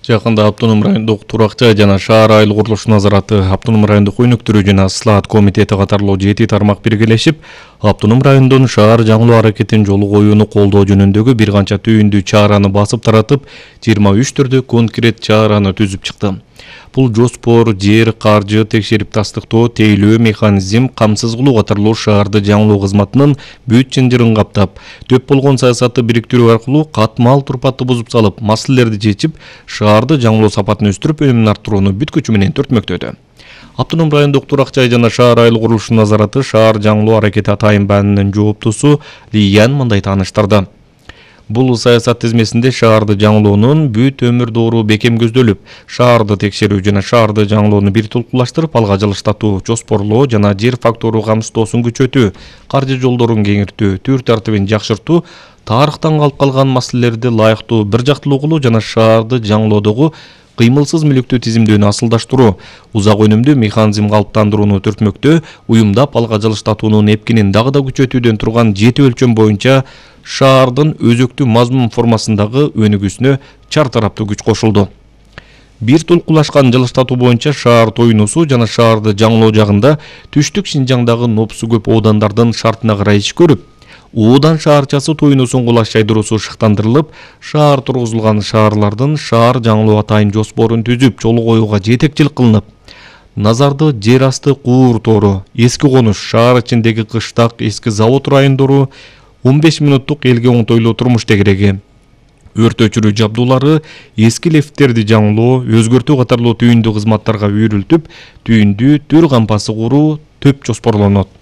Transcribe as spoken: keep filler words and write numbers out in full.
Жакында Автоном райондук турак жай жана шаар айыл курулуш назараты, Автоном райондук өнүктүрүү жана ыслаат комитети катарлуу жети тармак биргелешип, Автоном районунун шаар жаңылоо аракетин жолу коюуну колдоо жөнүндөгү бир канча түйүндүү чараны басып таратып, жыйырма үч түрдүү конкрет чараны түзүп чыкты. Бул жоспор, жер, каржы, текшерип тастыктоо, тейлөө механизм, камсыз кылуу катарлуу шаарды жаңылоо кызматынын бүт чынжырын каптап, төп болгон саясатты бириктирүү аркылуу катмал турпатты бузуп салып, маселелерди чечип, шаарды жаңылоо сапатын өстүрүп, өнүмүн арттырууну бүт күчү менен төртмөктөдү. Автоном райондук турак жай жана шаар айыл курулуш назараты шаар жаңылоо аракети атайын баанынын жооптусу Лиян мындай тааныштырды. Бул саясат тизмесинде шаарды жаңылоонун бүт өмүр доору бекем көздөлүп, шаарды текшерүү жана шаарды жаңылоону бир тулкулаштырып, алга жылыштатуу, жоспорлоо жана жер фактору камсыздоосун күчөтүү, каржы жолдорун кеңиртүү, түр тартибин жакшыртуу, тарыхтан калып калган маселелерди ылайыктуу бир жактылуу кылуу жана шаарды жаңылоодогу кыймылсыз мүлүктү тизимдөөнү асылдаштыруу, узак өнүмдүү механизм калыптандырууну төртмөктөө, уюмдап алга жылыштатуунун эпкинин дагы да күчөтүүдөн турган жети өлчөм боюнча шаардын өзөктүү мазмун формасындагы өнүгүүсүнө чар тараптуу күч кошулду. Бир тулкулашкан жылыштатуу боюнча шаар тоюнусу жана шаарды жаңылоо жагында түштүк Шинжаңдагы нопсу көп оодандардын шартына карай иш көрүп, Оодан шаарчасы тоюнусун кулаш жайдыруусу шыктандырылып, шаар тургузулган шаарлардын шаар жаңылоо атайын жоспорун түзүп, жолу коюуга жетекчилик кылынып, назарды жер асты куур тору, эски конуш, шаар ичиндеги кыштак, эски завод райондору, он беш мүнөттук элге оңтойлуу турмуш тегереги, өрт өчүрүү жабдуулары, эски лифттерди жаңылоо, өзгөртүү катарлуу түйүндүү кызматтарга үйрүлтүп, түйүндүү түр кампасы куруу төп жоспорлонот.